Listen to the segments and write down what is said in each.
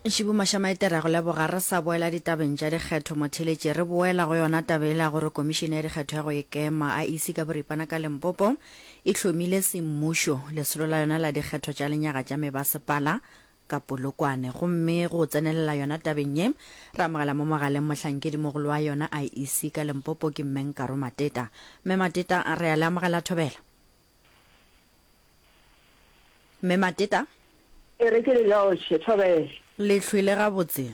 Ntšhibu Mašamaite re a go leboga. Re sa boela ditabeng tša dikgetho motheeletši, re boela go yona taba yela ya gore Komišene ya Dikgetho ya go Ikema, IEC ka boripana ka Limpopo, e hlomile semmušo lesolo la yona la dikgetho tša lenyaga tša mebasepala ka Polokwane. Gomme go tsenelela yona tabeng ye, re amogela mo mogaleng mohlankedimogolo wa yona IEC ka Limpopo ke Mme Nkaro Mateta. Mme Mateta, re a le amogela thobela. Mme Mateta. E re ke le lotšhe, thobela. Le hlwele gabotse?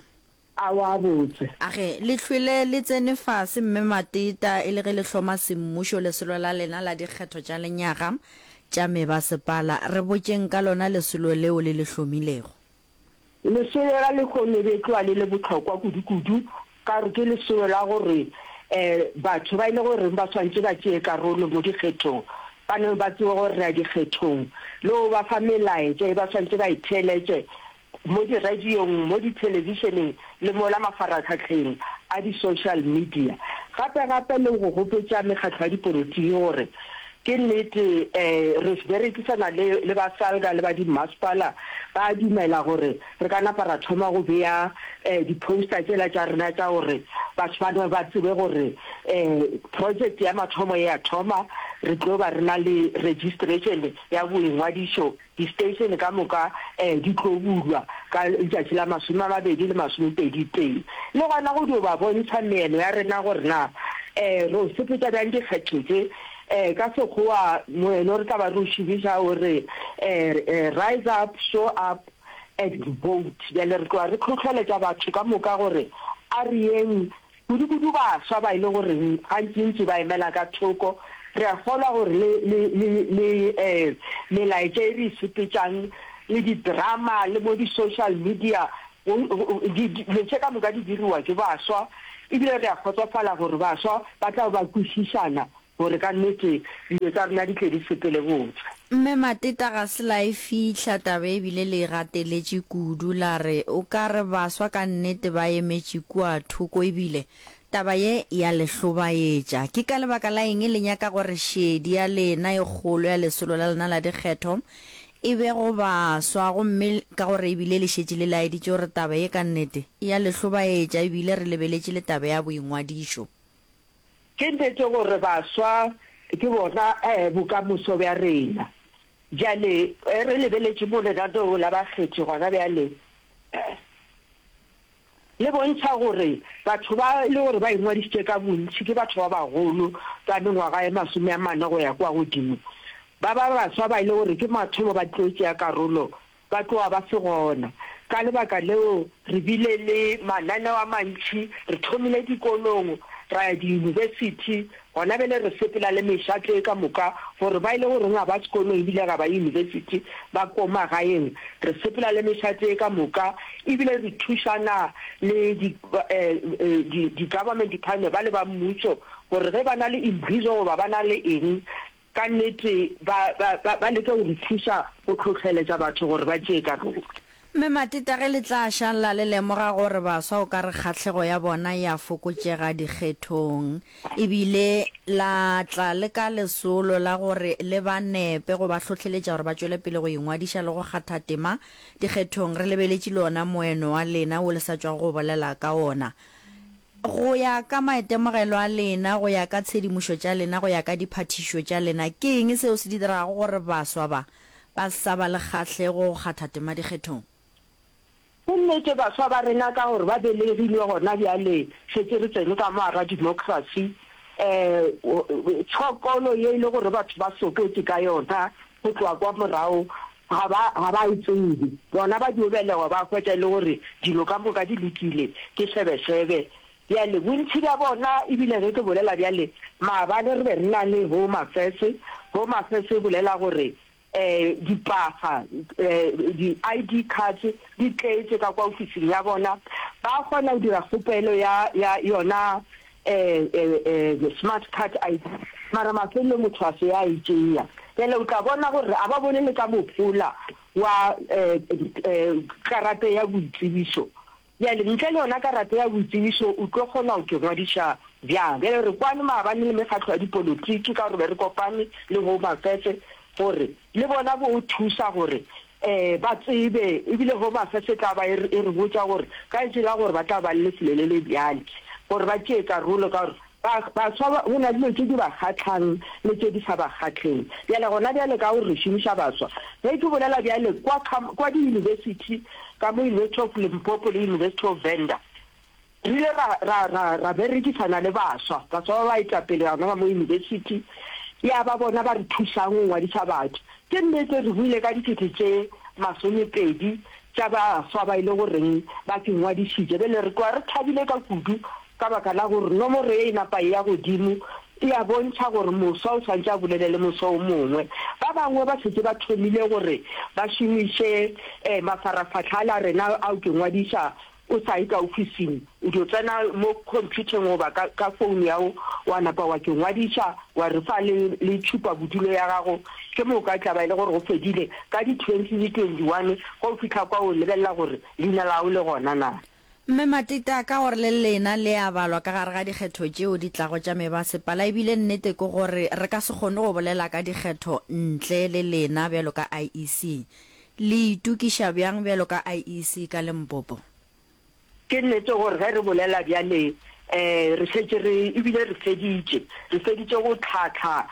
Aowa botse. Age, le hlwele le tsene fase, Mme Mateta, e le ge le hloma semmušo lesolo la lena la dikgetho tša lenyaga tša mebasepala. Re botšeng ka lona lesolo leo le le hlomilego. Lesolo la lehono e be e tloga le le bohlokwa kudu-kudu ka gore ke lesolo la gore batho ba e le goreng ba swanetše ba tšee karolo mo dikgethong ba no ba tsebe gore re ya dikgethong le go ba fa melaetša e ba swanetše ba e theeletše mo diradiong, mo dithelebišeneng le mola mafaratlhahleng a di-social media. Gape-gape le go gopotša mekgatlo ya dipolotiki gore ke nnete re berekisana le le ba SALGA le ba dimmasepala ba a dumela gore re ka napa ra thoma go bea di-poster tšela tša rena tša gore batho ba no ba tsebe gore project ya mathomo e a thoma, re tlo ba re na le registration ya boingwadišo Di-station ka moka di tlo bulwa ka letšatši la 20 le 21. Le gona go dio ba bontšha meeno ya rena gore na re o sepetša bjang dikgetho tše. Ka Sekgowa moeno re tla ba re o šomiša o re Rise up, show up and vote. Bjale re tloga re hlohleletša batho ka moka gore a re yeng Kudu-kudu baswa ba e le goreng gantši-ntši ba emela ka thoko. Re a kgolwa gore le, le, le, le eh, melaetša e re e sepetšang, le di-drama, le mo di-social media, go, go, di, di, dilo tše ka moka di diriwa ke baswa. Ebile re a kgotsofala gore baswa ba tla ba kwešišana Gore ka nnete dilo tša rena di tle di sepele botse. Mme Mateta ga se la e fihla taba e bile le e gateletše kudu la re o ka re baswa ka nnete ba emetše kua thoko e bile taba ye ya le hlobaetša. Ke ka lebaka la eng le nyaka gore šedi ya lena e kgolo ya lesolo la lena la dikgetho e be go baswa gomme ka gore e bile le šetše le laeditše gore taba ye ka nnete e ya le hlobaetša e bile re lebeletše le taba ya boingwadišo. Ke nnete gore baswa ke bona bokamoso bja rena. Bjale re lebeletše mo lenaneo la bakgethi gona bjale, le bontšha gore batho ba e le gore ba ingwadišitše ka bontši ke batho ba bagolo ba mengwaga e 40 go ya kua godimo. Ba ba baswa ba e le gore ke mathomo ba tlo tšea karolo ba tloga ba se gona. Ka lebaka leo re bile le mananeo a mantši, re thomile dikolong, ra ya diyunibesithi, gona bjale re sepela le mešato ye ka moka gore ba e le goreng ga ba sekolong ebile ga ba yunibesithi ba ko magaeng, re sepela le mešato ye ka moka ebile re thušana le di di government department ba le ba mmušo gore ge ba na le imbizo goba ba na le eng Ka nnete ba, ba, ba, ba leka go re thuša go hlohleletša batho gore ba tšee karolo. Mme Mateta, ge le tla šalla le lemoga gore baswa o ka re kgahlego ya bona e a fokotšega dikgethong, e bile la tla le ka lesolo la gore le ba nepe go ba hlohleletša gore ba tšwele pele go ingwadiša le go kgatha tema dikgethong, re lebeletše le ona moeno wa lena wo le sa tšwago go bolela ka ona. Go ya ka maitemogelo a lena, go ya ka tshedimošo tša lena, go ya ka diphathišo tša lena, ke eng seo se dirago gore baswa ba ba sa ba le kgahlego go kgatha tema dikgethong? Ke nnete, baswa ba rena ka gore ba belegilwe gona bjale, šetše re tsene ka mo gara democracy, um tshokolo ye e le gore batho ba soketše ka yona go tloga kwa morago, ga ba, ga ba e tsebe. Bona ba dio belegwa ba hwetša e le gore dilo ka moka di lokile, ke šebešebe. Bjale, bontši bja bona, ebile ge ke bolela bjale, maabane re be re na le Home Affairs, Home Affairs e bolela gore um dipaga, um di-ID cards di tletše ka kwa ofising ya bona, ba kgona go dira kgopelo ya, ya yona smart card ID, mara mafelelong motho a se a e tšea. Bjale o tla bona gore a ba bone le ka mohola wa karata ya boitsebišo. Bjale ntle le yona karata ya boitsebišo o tlo kgona go ke ngwadiša bjang? Bjale re kwane maabane le mekgatlo ya dipolotiki ka gore be re kopane le Home Affairs gore le bona bo thusa gore. um ba tsebe, ebile Home Affairs e tla ba e re, e re botša gore ka letše la gore ba tla ba le lefelo le le bjale gore ba tšee karolo, ka gore ba, baswa ba, go na le dilo tše di ba kgahlang le tše di sa ba kgahleng. Bjale gona bjale ka gore re šomiša baswa, ge ke bolela bjale kwa, kwa diyunibesithi, ka mo University of Limpopo le University of Venda, Re ile ra, ra, ra, ra berekisana le baswa, baswa ba baetapele gona ba mo yunibesithi, ya ba bona ba re thusang go ngwadisa batho. Ke nnete re buile ka dikete tše masomepedi tša baswa ba e le goreng ba ke ngwadišitše. Bjale re tloga re thabile ka kudu ka baka la gore nomoro ye e napa e ya godimo, e a bontšha gore moswa o swanetše a bolele le moswa o mongwe. Ba bangwe ba šetše ba thomile gore ba šomiše mafarafahla ale a rena ao ke ngwadiša O sa ye ka ofising, o dio tsena mo khomphutheng goba ka, ka founu ya go, wa napa wa ke ngwadiša, wa re fa le, le tšhupa bodulo ya gago, ke moka e tla ba e le gore go fedile. Ka di 20 le 21, ge o fihla kwa o lebelela gore leina la gago le gona na. Mme Matita, ka gore le lena le a balwa ka gare ga dikgetho tšeo di tlago tša mebasepala, ebile nnete ke gore re ka se kgone go bolela ka dikgetho ntle le lena bjalo ka IEC. Le itokiša bjang bjalo ka IEC ka Limpopo? Ke nnete gore ge re bolela bjale um re šetše re ebile re feditše, re feditše go tlhahla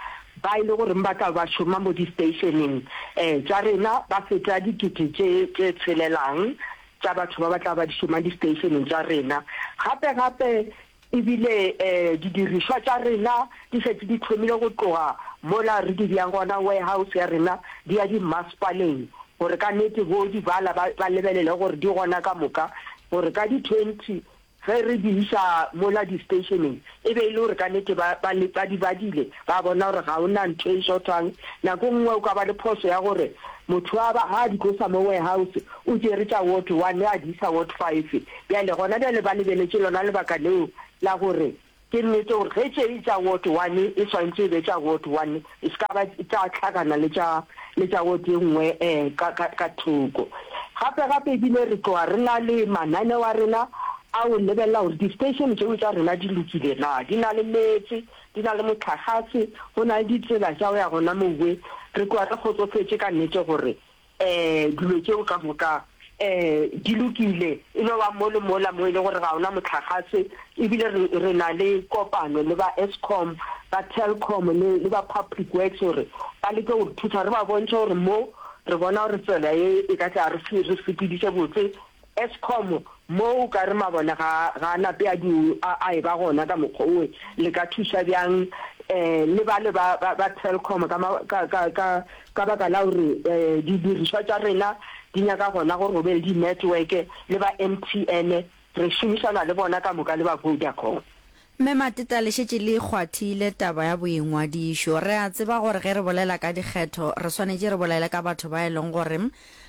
ba e le goreng ba tla ba šoma mo di-stationeng um tša rena, ba feta dikete tše tše tshelelang tša batho ba ba tla ba di šoma di-stationeng tša rena. Gape gape E bile didirišwa tša rena di šetše di thomile go tloga mola re di beang gona warehouse ya rena di ya dimmasepaleng gore ka nnete bo di bala ba ba lebelele gore di gona ka moka gore ka di 20 ge re di iša mola di stationeng e be e le gore ka nnete ba ba ba di badile ba bona gore ga o na ntho e shortang. Nako nngwe o ka ba le phoso ya gore motho a ba ga a di tlosa mo warehouse o tšere tša ward one a di isa ward five. Bjale, gona bjale ba lebeletše lona lebaka leo la gore ke nnete gore ge tše tša ward one e swanetše e be tša ward one, e se ka ba tša hlakana le tša, le tša ward e nngwe um ka, ka, ka thoko. Gape, gape ebile re tloga re na le mananeo a rena a go lebelela gore di-station tšeo tša rena di lokile na, di na le meetse, di na le mohlagase, go na le ditsela tša go ya gona mowe. Re tloga re kgotsofetše ka nnete gore um dilo tšeo ka moka um di lokile, e no ba mo le mola mo e le gore ga ona mohlagase, ebile re, re na le kopano le ba Eskom, ba Telkom le, le ba Public Works gore ba leke go re thusa, re ba bontšhe gore mo re bona gore tsela ye e ka tla re, re sepediše botse. Eskom, mo o ka re mabone ga, ga a nape a di, a, a eba gona ka mokgwa owe, le ka thuša bjang um le bale ba, ba, ba Telkom ka, ka, ka, ka, ka baka la gore um didirišwa tša rena di nyaka gona gore go be le di-network, le ba MTN, re šomišana le bona ka moka le ba Vodacom. Mme Mateta, le šetše le kgwathile taba ya boingwadišo. Re a tseba gore ge re bolela ka dikgetho, re swanetše re bolele ka batho ba e leng gore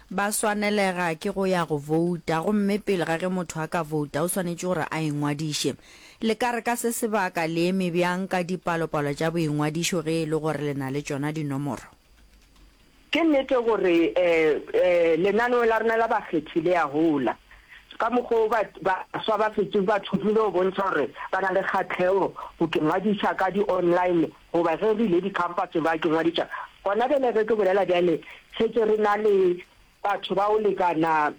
ba swanelega ke go ya go bouta, gomme pele ga ge motho a ka bouta o swanetše gore a ingwadiše. Le ka re ka se sebaka le eme bjang ka dipalopalo tša boingwadišo ge e le gore le na le tšona dinomoro? Ke nnete gore lenaneo la rena la bakgethi le a gola. Ka mokgwa wo baswa ba šetše ba thomile go bontšha gore ba na le kgahlego go ke ngwadiša ka di-online goba ge re ile dikhamphaseng ba ke ngwadiša. Gona bjale ge ke bolela bjale šetše re na le batho ba go lekana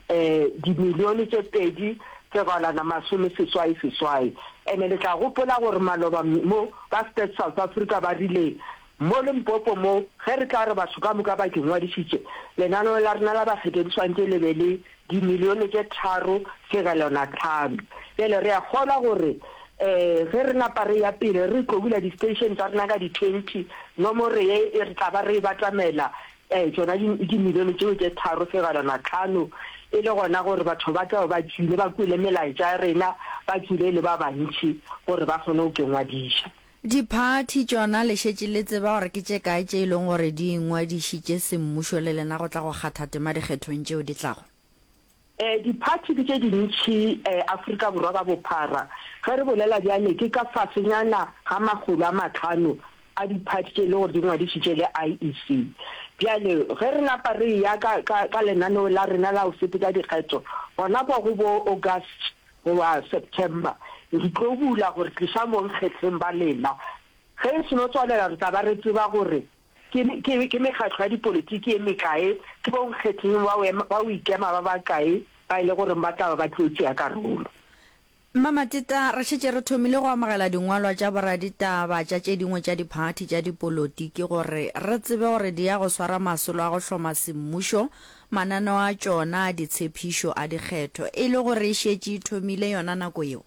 dimilione tše 2 fegelwana 86. Ene le tla gopola gore maloba mo ba Stats South Africa ba rile Mo Limpopo mo, ge re tla re batho ka moka ba ke ngwadišitše, lenaneo la rena la bakgethwa di swanetše le be le dimilione tše 3.5. Bjale re a kgolwa gore um ge re napa re ya pele re tlo bula di-station tša rena ka di-20, nomoro ye e re tla ba re e batamela um tšona dimilione tšeo tše 3.5, e le gona gore batho ba tla be ba tšwile, ba kwele melaetša ya rena, ba tšwile e le ba bantši gore ba kgone go ke ngwadiša. Diphathi tšona le šetše le tseba gore ke tše kae tše e leng gore di ingwadišitše semmušo le lena go tla go kgatha tema dikgethong tšeo di tlago? Diphathi ke tše dintši Afrika Borwa ka bophara. Ge re bolela bjale ke ka fasenyana ga 500 a diphathi tše e le gore di ngwadišitše le IEC. Bjale ge re napa re eya ka, ka, ka lenaneo la rena la go sepetša dikgetho gona kwa go bo August goba September, re tlo bula gore tliša mo nkgetheng ba lena. Ge e seno tswalela re tla ba re tseba gore Ke, ke, ke mekgatlo ya dipolotiki ye mekae, ke bonkgetheng ba go, ba go ikema ba bakae ba e le goreng ba tla ba ba tlo tšea karolo. Mma Mateta, re šetše re thomile go amogela dingwalwa tša boraditaba tša tše dingwe tša diphathi tša dipolotiki gore re tsebe gore di ya go swara masolo a go hloma semmušo mananeo a tšona a ditshepišo a dikgetho e le gore e šetše e thomile yona nako yeo.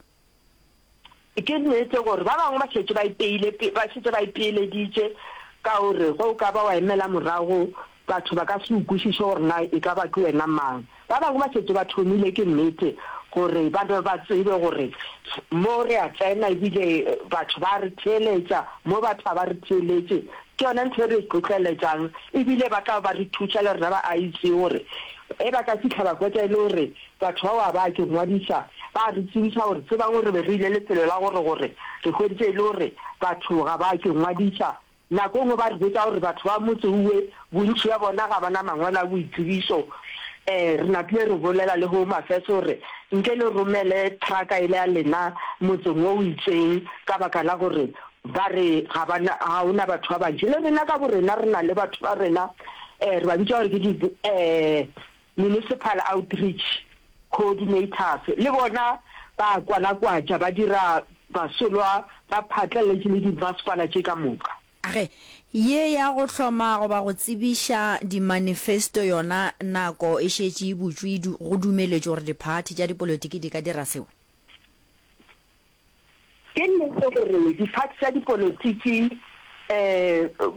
Ke nnete gore ba bangwe ba šetše ba ipeile, ba šetše ba ipeeleditše ka gore ge o ka ba wa emela morago batho ba ka se o kwešiše gore na e ka ba ke wena mang. Ba bangwe ba šetše ba thomile, ke nnete gore ba be ba tsebe gore mo re a tsena ebile batho ba re theeletša, mo batho ga ba re theeletše. Ke yona ntho e re e tlotleletšang ebile ba tla ba re thuša le rena ba IEC gore ge ba ka fihla ba hwetša e le gore Batho bao ga ba ke ngwadiša, ba re tsebiša gore tsebang gore re be re ile lefelo la gore gore re hweditše e le gore batho ga ba ke ngwadiša. Nako e nngwe ba re botša gore batho ba motse uwe bontši bja bona ga ba na mangwalo a boitsebišo. Re napile re bolela le Home Affairs gore nke le romele trucka ele ya lena motseng wo o itseng ka baka la gore ba re ga ba na, ga o na batho ba bantši. Le rena ka borena re na le batho ba rena, re ba bitša gore ke di Municipal Outreach Coordinators le bona ba kwalakwatša, ba dira masolwa, ba phatlaletše le dimasepala tše ka moka. Ge ye ya go hloma goba go tsebiša dimanifesto yona nako e šetše e butšwe, go dumeletšwe gore diphathi tša dipolotiki di ka dira seo. Ke nnete gore diphathi tša dipolotiki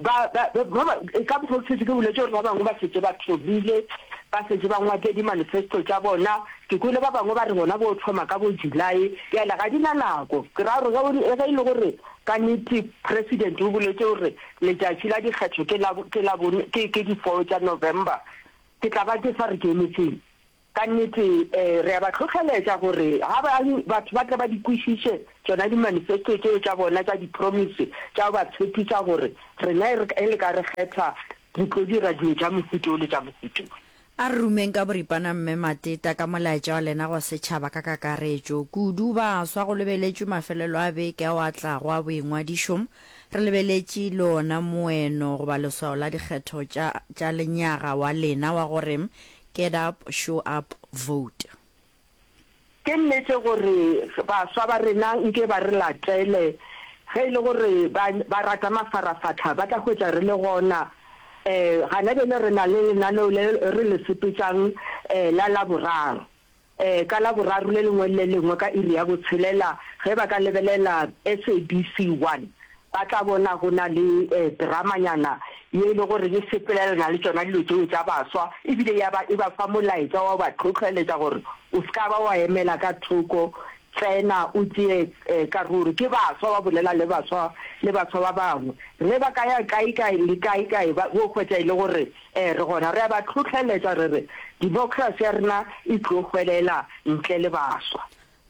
ba, ba, ba, ba, ka mokgwa o ke šetše ke boletše gore ba bangwe ba šetše ba thomile, ba šetše ba ngwadile di-manifesto tša bona. Ke kwele ba bangwe ba re bona bo thoma ka bo July. Bjale ga di na nako. Ke ra gore ge, ge e le gore ka nnete President o boletše gore letšatši la dikgetho ke la, ke la bone, ke, ke di-four tša November, ke tla ba ke sa re ke emetšeng? Ka nnete, re a ba hlohleletša gore ga ba, batho ba tle ba di kwešiše tšona di-manifesto tšeo tša bona tša di-promise tša go ba tshepiša gore rena e le ka re kgetha re tlo dira dilo tša mohuta o le tša mohuta o. A re rumeng ka boripana Mme Mateta ka molaetša wa lena go setšhaba ka kakaretšo, kudu baswa go lebeletšwe mafelelo a beke ao a tlago a boingwadišo, re lebeletše le ona moeno goba leswao la dikgetho tša tša lenyaga wa lena wa gore Get up, show up, vote. Ke nnete gore baswa ba rena nke ba re latele. Ge e le gore ba, ba rata mafarafahla, ba tla hwetša re le gona. Um gana bjale re na le lenaneo le re le sepetšang um la Laboraro. Um ka Laboraro le lengwe le le lengwe ka iri ya botshelela, ge ba ka lebelela SABC 1, ba tla bona go na le dramanyana ye e le gore e sepelelana le tšona dilo tšeo tša baswa, ebile ya ba e ba fa molaetša wa go ba hlohleletša gore o se ka ba wa emela ka thoko, tsena o tšee karolo. Ke baswa ba bolela le baswa le baswa ba bangwe. Ge ba ka ya kae kae le kae kae ba bo hwetša e le gore re gona. Re a ba hlohleletša re re democracy ya rena e tlo hwelela ntle le baswa.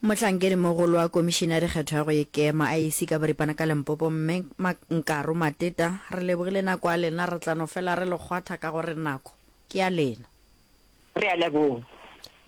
Mohlankedimogolo wa Komišene ya Dikgetho ya go Ikema, IEC, ka boripana ka Limpopo, Mme Nkaro Mateta, re lebogile nako ya lena, re tla no fela re le kgwatha ka gore nako ke ya lena. Re a leboga.